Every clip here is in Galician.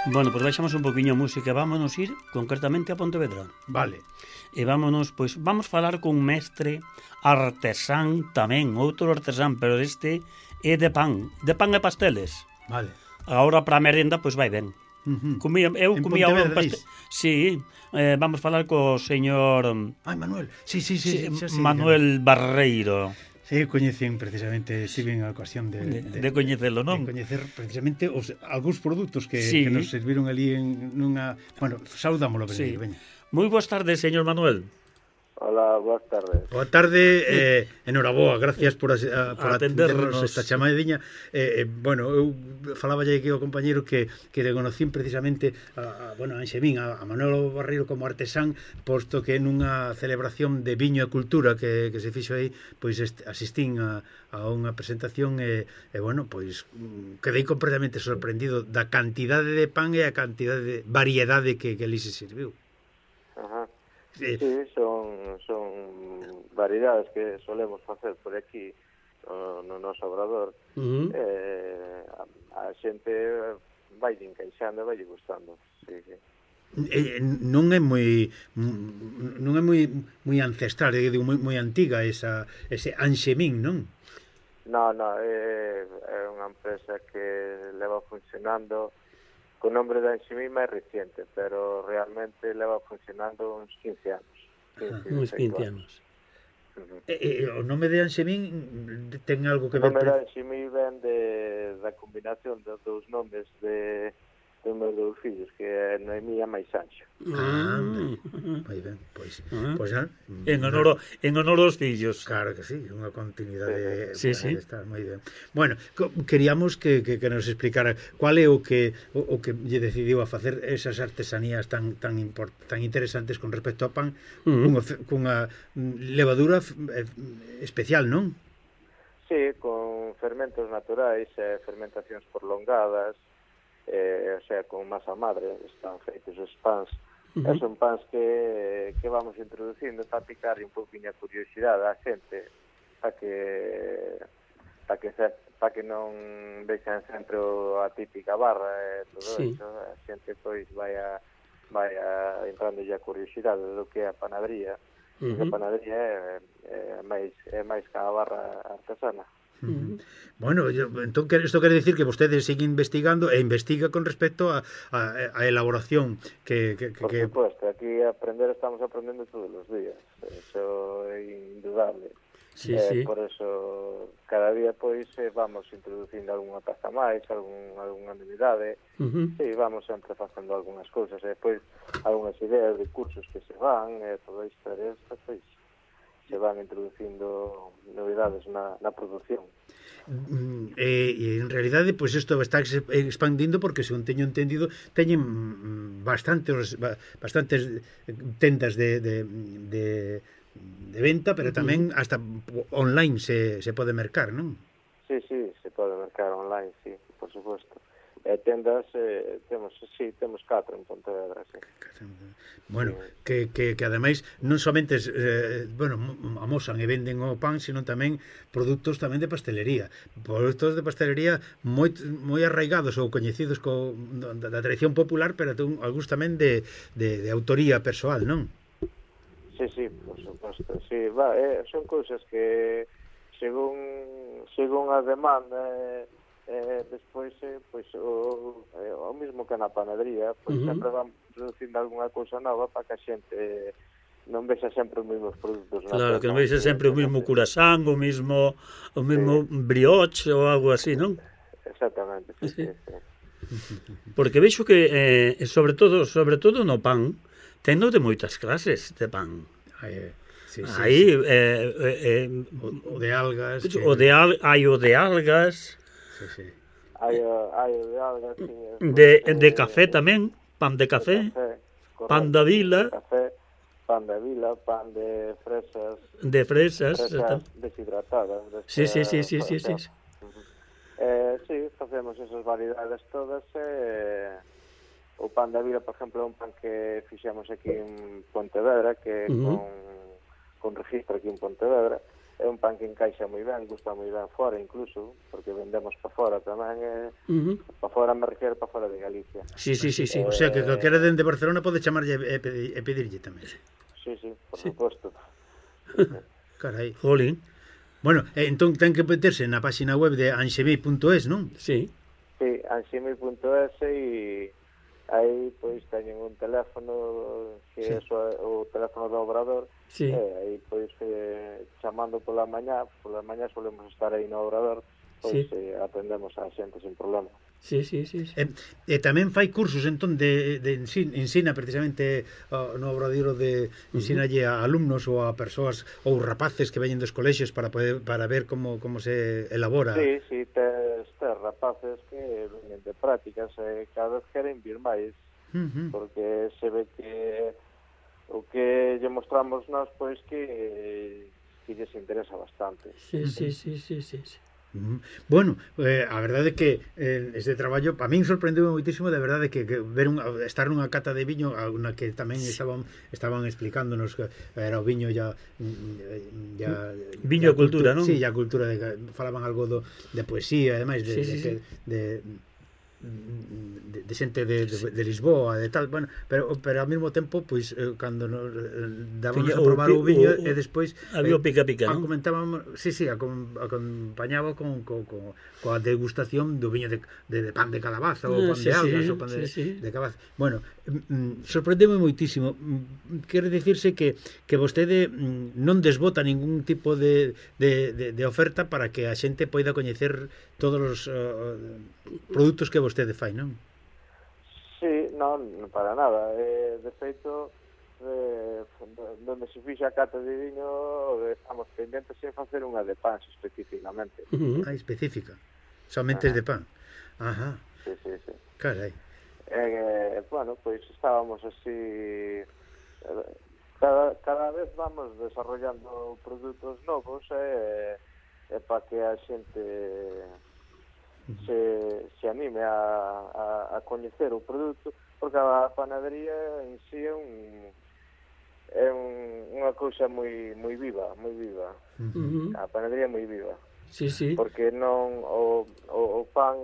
Bueno, pois baixamos un poquinho a música, vámonos ir concretamente a Pontevedra. Vale. E vámonos, pois, vamos falar con un mestre artesán tamén, outro artesán, pero este é de pan e pasteles. Vale. Agora para a merenda, pois vai ben. Comía un pastel. Sí, vamos falar co señor Manuel. Sí, Manuel Barreiro. Sí, coñecen precisamente, estive en a ocasión de coñecelo, non? De coñecer precisamente algúns produtos que nos serviron ali nunha... Bueno, saudámoslo, sí. Veña. Moi boas tardes, señor Manuel. Hola, boas tardes. Boa tarde, enhoraboa, gracias por atendernos esta chamadiña. Bueno, eu falaballe aquí ao compañeiro que reconocín precisamente a Anxemín, a Manuel Barreiro como artesán, posto que nunha celebración de viño e cultura que se fixo aí, pois asistín a unha presentación e bueno, pois quedei completamente sorprendido da cantidade de pan e a cantidade de variedade que ali se serviu. Ajá. Sí, son variedades que solemos facer por aquí no noso obrador. A xente vai encaixando e vai gustando. Sí. Non é moi ancestral, digo, moi antiga ese Anxemín, non? No, é unha empresa que leva funcionando o nombre de Anxemín máis reciente, pero realmente leva funcionando uns 15 anos. Uns 15 anos. O nome de Anxemín ten algo que ver... O nome de Anxemín ven da combinación dos dous nomes de meus dous fillos, que é Noemí e máis Sancho. Moi ben, pois en honor aos fillos. Claro que sí, unha continuidade. Sí. Está moi ben. Bueno, queríamos que nos explicara cual é o que lle decidiu a facer esas artesanías tan interesantes con respecto ao pan, cunha levadura especial, non? Sí, con fermentos naturais e fermentacións prolongadas, o sea, con masa madre están feitos os pans. Son pans que vamos introducindo para picar un pouquinho a curiosidade a xente, para que non vexan sempre a típica barra e todo iso. A xente pois vai entrando a curiosidade do que é a panadería. A panadería é máis que a barra artesana. Bueno, entón isto quere dicir que vostedes siguen investigando e investiga con respecto a elaboración que... Por suposto, aquí estamos aprendendo todos os días, eso é indudable. Sí. Por eso cada día pois vamos introducindo algunha pasta máis, algunha novidade. Sí, vamos sempre facendo algunhas cousas e depois algunhas ideas de cursos que se van e todo isto pois se van introducindo novidades na produción. E en realidade, pois isto está expandindo porque, según teño entendido, teñen bastantes tendas de venta, pero tamén hasta online se pode mercar, non? Sí, se pode mercar online, sí, por suposto. Tendas, temos 4 en Pontevedra, sí. Bueno, que ademais non somente amosan e venden o pan, sino tamén produtos tamén de pastelería. Produtos de pastelería moi arraigados ou coñecidos da tradición popular, pero algúns tamén de autoría persoal, non? Sí, por suposto, sí. Son cousas que según a demanda despois pois o mismo que na panadería, pois sempre van producindo algunha cousa nova para que a xente non vexa sempre os mesmos produtos. Claro, que non vexa sempre o mesmo curasán, o mesmo brioche ou algo así, non? Exactamente, sí. Porque vexo que sobre todo no pan tendo de moitas clases de pan. Aí o de algas, hai o de algas. Sí. Hai o de algas, sí. De café tamén, pan de café, pan da vila, pan de vila, pan de fresas. De fresas deshidratadas. Sí. Sí, facemos esas variedades todas. O pan da vila, por exemplo, é un pan que fixemos aquí en Pontevedra, que con registro aquí en Pontevedra. é un pan que encaixa moi ben, gusta moi ben fora incluso, porque vendemos para fora tamén, para fora me refiero para fora de Galicia. Sí. O sea, que calquera dende Barcelona pode chamarlle e pedirlle tamén. Sí, por suposto. Carai. Jolín. Bueno, entón ten que meterse na página web de anxemi.es, non? Sí. Sí, anxemi.es e aí pois teñen un teléfono que é o teléfono do Obrador, sí. Aí pois chamando pola mañá solemos estar aí no Obrador, pois atendemos a xente sin problema. Sí. E tamén fai cursos entón de ensina precisamente no Obradoiro de ensinalle a alumnos ou a persoas ou rapaces que veñen dos colexios para ver como se elabora. Sí, tes rapaces que veñen de prácticas e cada vez queren vir máis, porque se ve que o que lle mostramos nós pois que lles interesa bastante. Sí. Bueno, a verdade é que este traballo para min sorprendeu moitísimo, de verdade que ver estar nunha cata de viño, na que tamén estaban explicándonos que era o viño ya viño a cultura, non? Sí, a cultura, falaban algo de poesía, ademais de xente de Lisboa, de tal, bueno, pero ao mesmo tempo, pois, cando dábamos a probar o viño e despois había o pica-pica, non? Comentábamos, acompañaba coa degustación do viño de pan de calabaza ou pan de algas ou pan de calabaza. Bueno, sorprendeme moitísimo. Quere dicirse que vostede non desbota ningún tipo de oferta para que a xente poida coñecer todos os produtos que vostede fai, non? Sí, non para nada. De feito, donde se fixa a cata de viño, estamos pendentes en facer unha de pan especificamente. Específica. Somente de pan. Ajá. Sí. Carai. Bueno, pois estábamos así, cada vez vamos desarrollando produtos novos para que a xente se anime a coñecer o produto, porque a panadería en si é unha cousa moi viva. A panadería é moi viva. Sí. Porque non o pan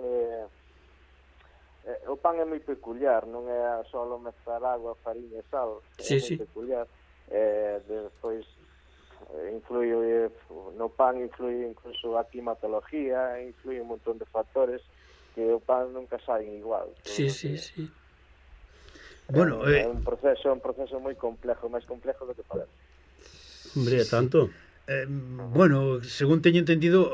o pan é moi peculiar, non é só mezclar agua, fariña e sal, é moi peculiar. Despois influye no pan, influye incluso a climatología, influye un montón de factores que o pan nunca saen igual. Sí. Bueno, é un proceso moi complejo, máis complejo do que parece. Hombre, tanto. Bueno, según teño entendido,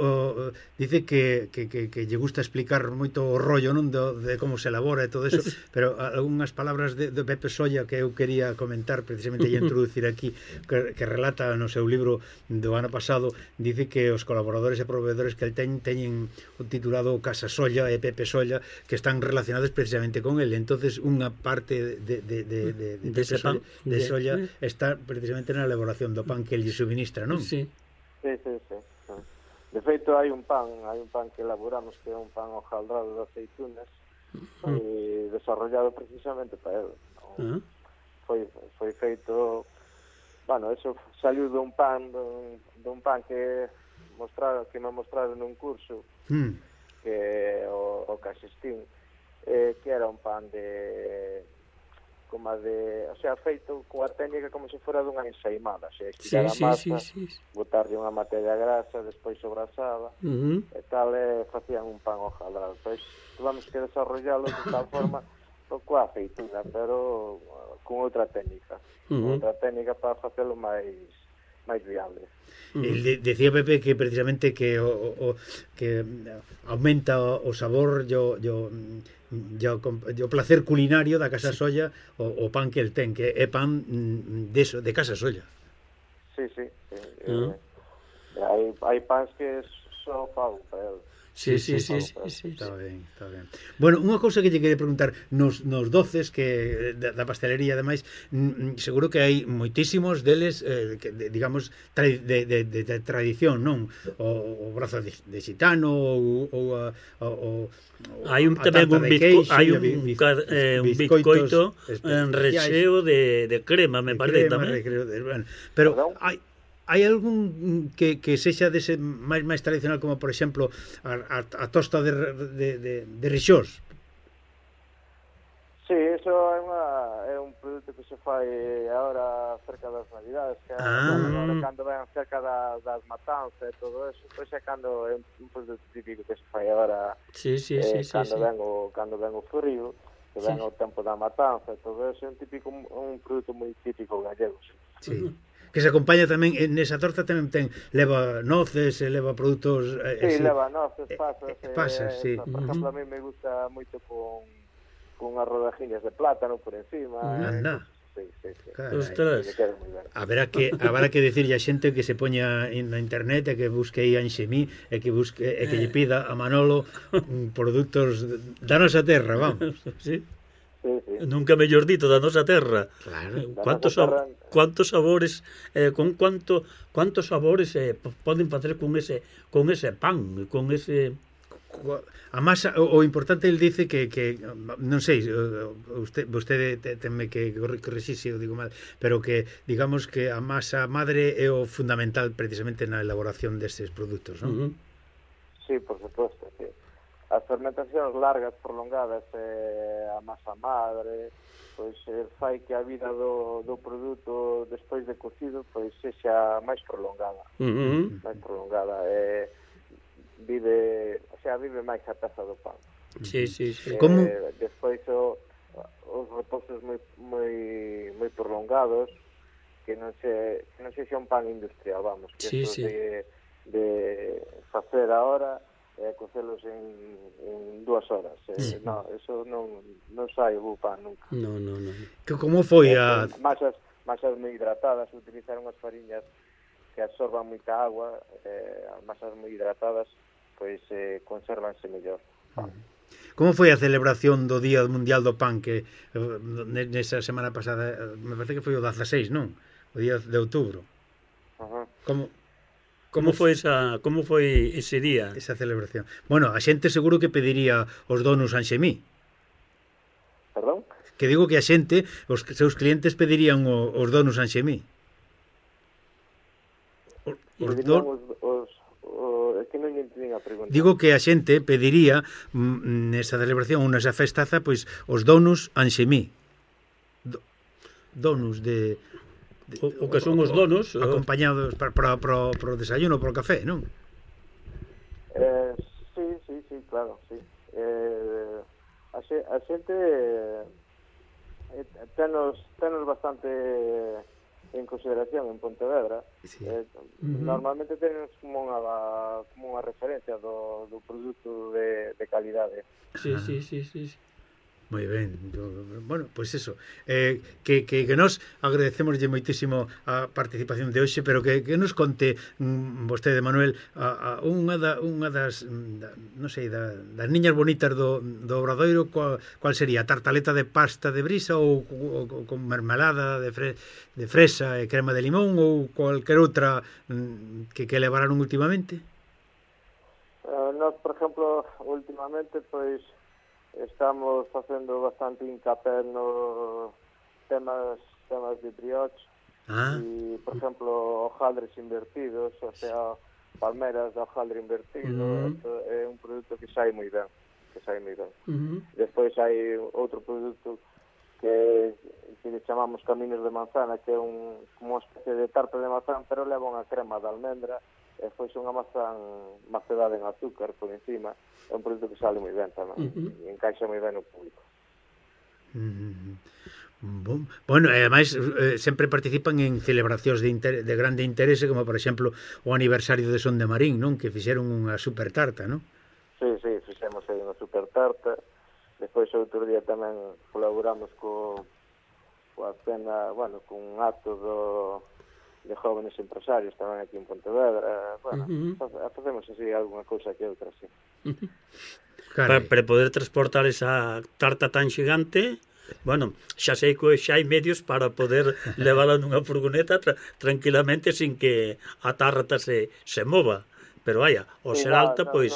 dice que lle gusta explicar moito o rollo, non, de como se elabora e todo eso, pero algunhas palabras de Pepe Solla que eu quería comentar precisamente e introducir aquí, que relata no seu libro do ano pasado, dice que os colaboradores e proveedores que el teñen titulado Casa Solla e Pepe Solla, que están relacionados precisamente con el. Entonces unha parte de Solla está precisamente na elaboración do pan que el lle suministra, non? Sí. De feito, hai un pan que elaboramos que é un pan hojaldrado de aceitunas, desarrollado precisamente para ele. Foi feito, bueno, eso saliu dun pan que me mostraron nun curso, que o Casistín, que era un pan o sea, feito coa técnica como se fora dunha ensaimada, o sea, quitar a masa, botarlle unha materia grasa, despois sobrasada, e tal, facían un pan hojaldrado. Pois tuvamos que desarrollalo de tal forma coa aceituna, pero con outra técnica, para facelo máis viable. Decía Pepe que precisamente que aumenta o sabor o placer culinario da Casa Solla o pan que el ten, que é pan de Casa Solla. Sí. Hai pans que só fan para el. Sí. Está ben. Bueno, unha cousa que lle quería preguntar, nos doces que da pastelería, ademais, seguro que hai moitísimos deles, que, digamos, de tradición, non? O brazo de xitano, ou hai tamén un bizcoito en rexeo de crema, me parece tamén. Pero hai hai algún que sexa dese máis tradicional, como por exemplo a tosta de rixós? Sí, eso é un produto que se fai agora cerca das Navidades, que agora cando ven cerca das matanzas e todo eso, pois é cando é un produto típico que se fai agora cando ven o frío, que ven o tempo da matanza e todo eso, é un produto moi típico gallego. Sí. Que se acompaña tamén, nesa torta tamén leva noces, leva produtos... Sí, leva noces, pasas, sí. Por exemplo, a mí me gusta moito con as rodajiñas de plátano por encima. Anda. Sí. Ostras. Haberá que decirlle a xente que se poña na internet e que busque aí a Anxemí e que lle pida a Manolo produtos da nosa terra, vamos. Sí. Nunca mellor dito, da nosa terra. Claro. Cuántos sabores con cuántos sabores poden facer con ese pan, con ese... A masa, o importante, ele dice que non sei, vostede teme que corrixir se eu digo mal, pero que digamos que a masa madre é o fundamental precisamente na elaboración destes produtos, non? Sí, por suposto, sí. As fermentacións largas, prolongadas, a masa madre, pois fai que a vida do produto despois de cocido pois sexa máis prolongada. Máis prolongada, vive máis a taza do pan. Sí. Como? Despois os repousos moi prolongados, que non sexa un pan industrial, vamos, que de facer ahora cocelos en 2 horas. No, eso non sai o pan nunca. No. Como foi a... Masas moi hidratadas, utilizaron as fariñas que absorban moita agua, as masas moi hidratadas pois consérvanse mellor. Como foi a celebración do Día Mundial do Pan que nesa semana pasada, me parece que foi o 16, non? O día de outubro. Como foi ese día? Esa celebración. Bueno, a xente seguro que pediría os donos Anxemí. Perdón? Que digo que a xente, os seus clientes pedirían os donos Anxemí. Que non entendín a pregunta. Digo que a xente pediría nesa celebración ou nesa festaza pois os donos Anxemí. Donos de o que son os donos acompañados para o desayuno, para o café, non? Sí, claro, sí. A xente tenos bastante en consideración en Pontevedra. Normalmente tenemos como unha referencia do produto de calidade. Sí. Moi ben, bueno, pois eso, que nos agradecemoslle moitísimo a participación de hoxe, pero que nos conte vostede, Manuel, unha das, non sei, das niñas bonitas do Obradoiro, cual sería? Tartaleta de pasta de brisa ou con mermelada de fresa e crema de limón ou cualquier outra que levaron últimamente? Nós, por exemplo, últimamente, pois estamos facendo bastante hincapié nos temas de brioche e, por exemplo, hojaldres invertidos, o sea, palmeras de hojaldre invertido. É un produto que sai moi ben, Despois hai outro produto que le chamamos caminos de manzana, que é como unha especie de tarta de manzana, pero leva unha crema de almendra e foi unha mazán macedada en azúcar por encima. É un produto que sale moi ben tamén, e encaixa moi ben no público. Bueno, e ademais sempre participan en celebracións de grande interese, como por exemplo o aniversario de Son de Marín, non? Que fixeron unha super tarta, non? Sí, fixemos aí unha super tarta. Despois outro día tamén colaboramos coa cena, bueno, con un acto de jóvenes empresarios tamén aquí en Pontevedra. Bueno, facemos así alguna cousa que outra, sí. Para poder transportar esa tarta tan xigante, bueno, xa sei que xa hai medios para poder levala nunha furgoneta tranquilamente sin que a tarta se mova, pero vaya, ao ser alta, pois...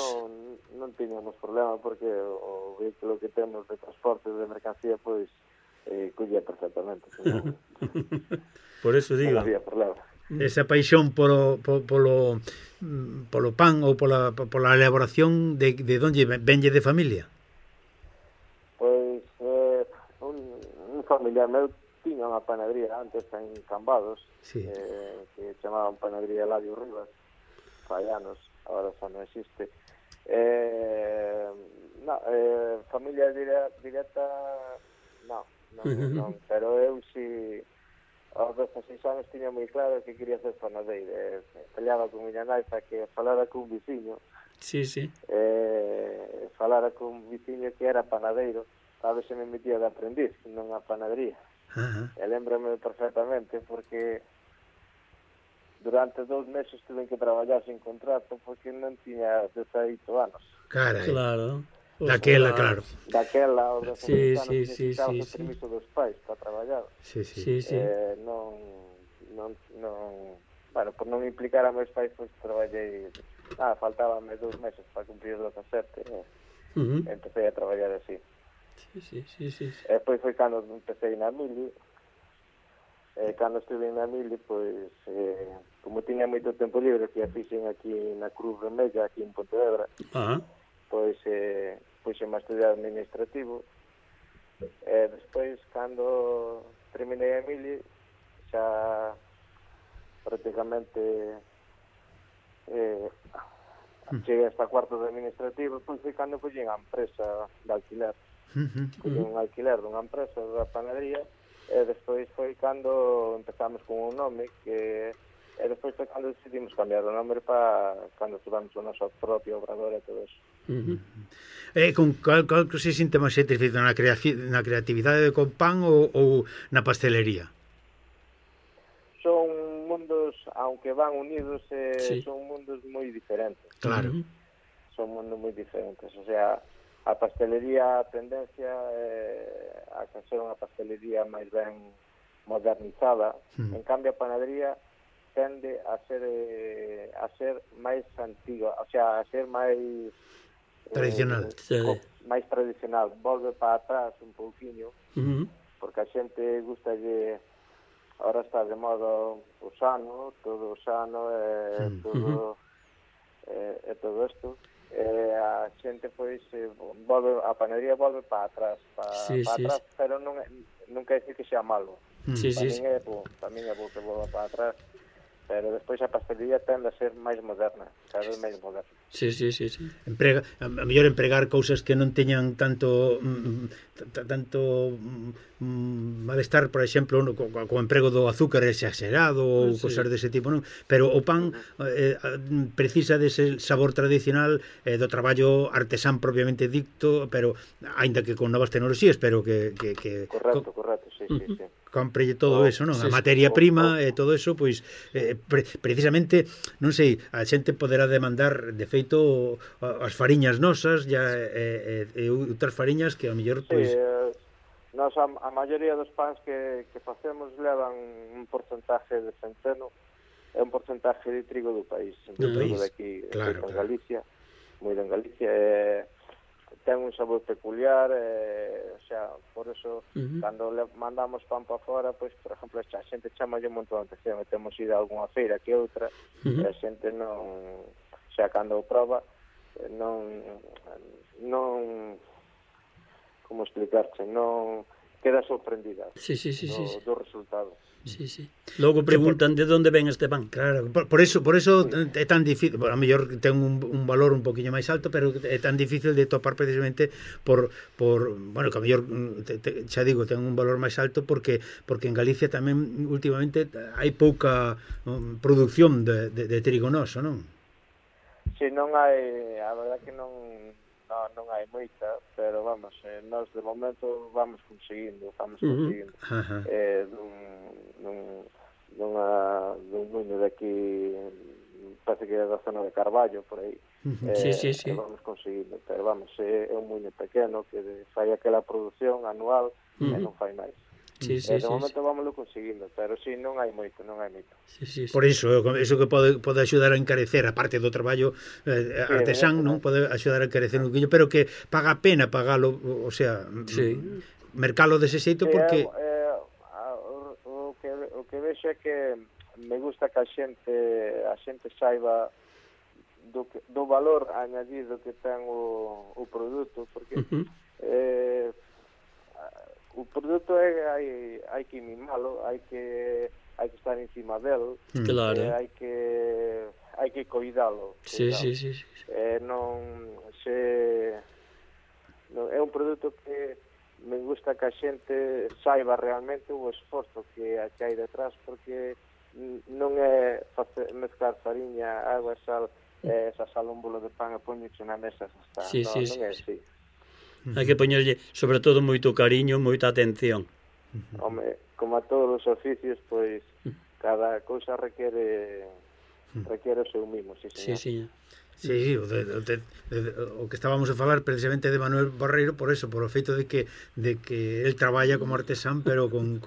Non tiñamos problema, porque o vehículo que temos de transporte de mercancía, pois, collía perfectamente. Por eso digo. Non había problema. esa paixón polo pan ou pola elaboración de onde venlle de familia? Pois un familiar meu tiña unha panadería antes en Cambados, sí. Que chamaban Panadería Eladio Rivas, fai anos, agora xa non existe. Familia directa non, pero eu si aos 16 anos tiña moi claro que quería ser panadeiro. Peleaba con miña nai para que falara con un veciño, falara con un veciño que era panadeiro, a ver se me metía de aprendiz nunha panadería. E lembrame perfectamente porque durante 2 meses tuve que traballar sin contrato porque non tiña 18 anos. Carai. Claro. Daquela, claro. Daquela, aos 16 anos, necesitaba o permiso dos pais para traballar. Sí. Bueno, por non implicar a meus pais, pois traballei... faltábame 2 meses para cumprir os 17, empecé a traballar así. Sí. E depois foi cando empecé na Mili. Cando estive na Mili, pois, como tiña moito tempo libre, que a fixen aquí na Cruz Vermella, aquí en Pontevedra, pois puxeme a estudiar administrativo. Despois, cando terminei a Mili, xa prácticamente cheguei hasta cuarto de administrativo, pois foi cando collín a empresa de alquiler. Collín un alquiler dunha empresa da panadería, e despois foi cando empezamos con un nome que... E despois foi cando decidimos cambiar o nome para cando tivemos o noso propio obrador e todo eso. Con cal se sinte máis satisfeito na creatividade con pan ou na pastelería? Son mundos, aunque van unidos, son mundos moi diferentes. Claro. Son mundos moi diferentes. O sea, a pastelería, a tendencia a ser unha pastelería máis ben modernizada. En cambio, a panadería tende a ser máis antiga, o sea, a ser máis tradicional, máis tradicional, volve para atrás un pouquiño, porque a xente gustalle, ahora está de moda o sano, todo o sano e todo isto, a xente pois volve, a panadería volve para atrás, atrás, pero non quer decir que sea malo. Tamén é bo que volva para atrás, pero despois a pastelería tende a ser máis moderna, cada vez máis moderna. Sí. A mellor empregar cousas que non teñan tanto malestar, por exemplo, co emprego do azúcar exagerado ou cousas dese tipo, non? Pero o pan precisa dese sabor tradicional do traballo artesán propiamente dicto, pero aínda que con novas tecnoloxías, pero que Correcto, sí. Comprelle todo eso, non? A materia prima e todo eso, pois precisamente, non sei, a xente poderá demandar de feito as fariñas nosas e outras fariñas que a mellor pois nós a maioría dos pans que facemos levan un porcentaje de centeno e un porcentaje de trigo do país, de aquí, claro. En Galicia, moi en Galicia, ten un sabor peculiar, o sea, por eso cando le mandamos pan para fora, pois, por exemplo, a xente chama un montón de atención, e temos ido a algunha feira que outra, e a xente non, o sea, cando o proba, non como explicarche, non queda sorprendida do resultado. Sí. Logo preguntan de onde ven este pan. Claro, por eso é tan difícil, a mellor ten un valor un poquinho máis alto, pero é tan difícil de topar precisamente por bueno, que a mellor xa digo, ten un valor máis alto porque en Galicia tamén últimamente hai pouca produción de trigo noso, non? Si, non hai, a verdade que non hai moita, pero vamos, nós de momento vamos conseguindo dun muño de aquí, parece que é da zona de Carballo, por aí. Sí. Vamos conseguindo, pero vamos, é un muño pequeno que fai aquela produción anual e non fai máis. De momento vámoslo conseguindo, pero si non hai moito. Por iso, eso que pode axudar a encarecer, a parte do traballo artesán, non pode axudar a encarecer un poquinho, pero que paga a pena pagalo, o sea, mercalo dese xeito porque o que vexo é que me gusta que a xente saiba do valor añadido que ten o produto, porque o produto hai que mimalo, hai que estar encima del, claro. Hai que cuidalo. Sí. É un produto que me gusta que a xente saiba realmente o esforzo que hai detrás, porque non é mezclar fariña, agua, sal, esa sal un bolo de pan e poñeche na mesa, non é así. Hai que poñerlle, sobre todo, moito cariño, moita atención. Home, como a todos os oficios, pois cada cousa requere o seu mimo, sí, señor. Sí. Sí, o que estábamos a falar precisamente de Manuel Barreiro por eso, por o feito de que el traballa como artesán, pero con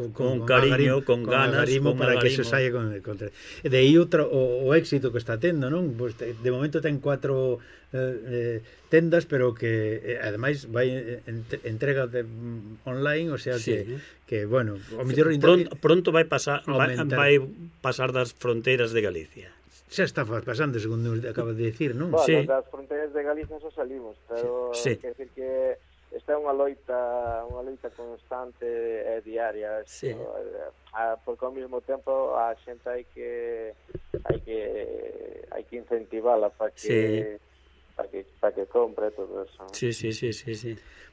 cariño, con ganas, con para que eso saia con de aí o éxito que está tendo, non? Pues de momento ten 4 tendas, pero que ademais vai entrega online, o sea que bueno, o mellor pronto vai pasar das fronteiras de Galicia. Xa está pasando, segundo acaba de decir, non? Bueno, sí. Das fronteiras de Galicia xa salimos, pero quer decir que esta é unha loita constante e diaria, porque ao mesmo tempo a xente hai que incentivala para que compre todo eso. Sí.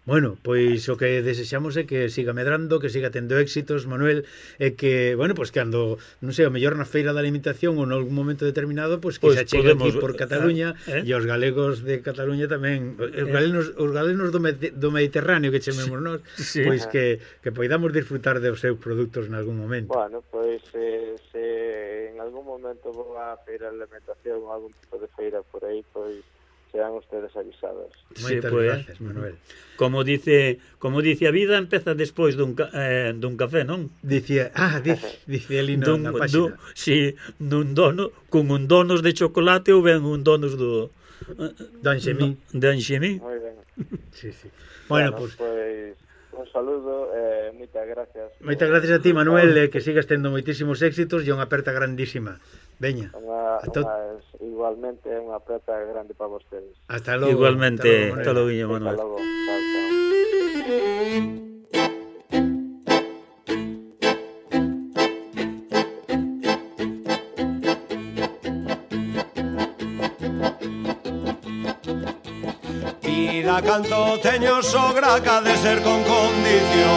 Bueno, pois o que desexamos é que siga medrando, que siga tendo éxitos, Manuel, e que, bueno, pois que ando, non sei, o mellor na feira da alimentación ou nalgún momento determinado, pois que se chegue aquí por Cataluña e os galegos de Cataluña tamén, os galenos do Mediterráneo que chamemos nós, pois que poidamos disfrutar dos seus produtos nalgún momento. Bueno, pois se en algún momento vou a feira de alimentación ou algún tipo de feira por aí, pois serán ustedes avisados. Moitas gracias, Manuel. Como dice a vida, empeza despois dun café, non? Dice ali na página. Si, con un donos de chocolate ou ben un donos do Anxemín. De Anxemín. Moi ben. Sí. Bueno, pues un saludo e moitas gracias. Moitas gracias a ti, Manuel, que sigas tendo moitísimos éxitos e unha aperta grandísima. Veña. Igualmente, unha aperta grande para vostedes. Hasta logo. Igualmente, hasta logo, Manuel. Hasta logo. Chao. Vida canto teño sogra que ha de ser con condición,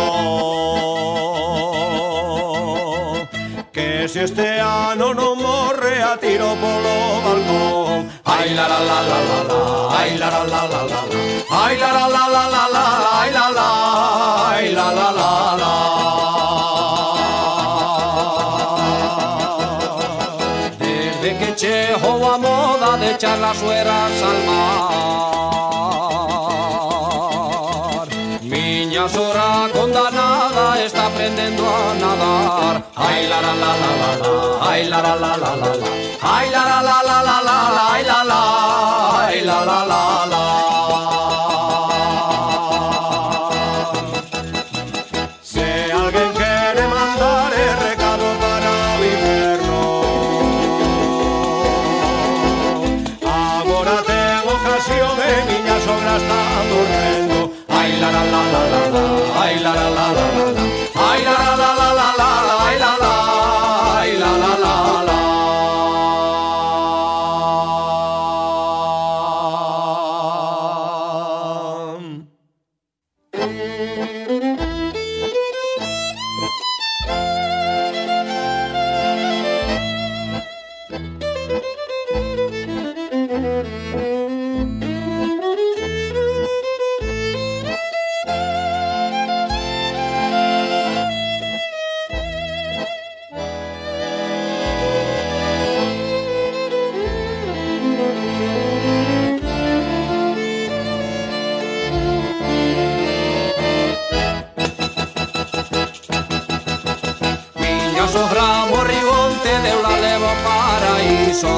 que se este ano non morre a tiro polo balcón. Ai la la la la la la, ai la la la la la, ai la la la la la la, ai la la, ai la la la la. Desde que chegou a moda de echar las sueras al mar, miña sogra condanada está aprendendo a nadar. Ai la la la la la la, ai la la la la la la, ai la la la la la la, ai la la, ai la la la la. Se alguén quere mandar el recado para o inverno, agora ten ocasión e miña sogra está durmendo. Ai la la la la la la, ai la la la la la, ai la la la la la la, ai la la, ai la la la la. Sogra morribonte deu la levo paraíso.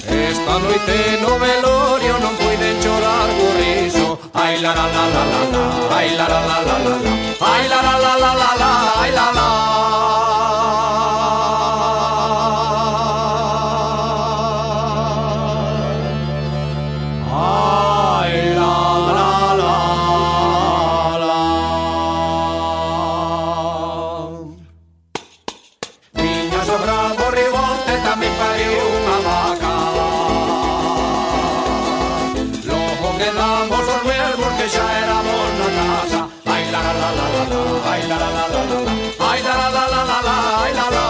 Esta noite no velorio non puiden chorar por riso. Ai la la la la la la, ai la la la la la la, ai la la la la la la, ai la la. ai la la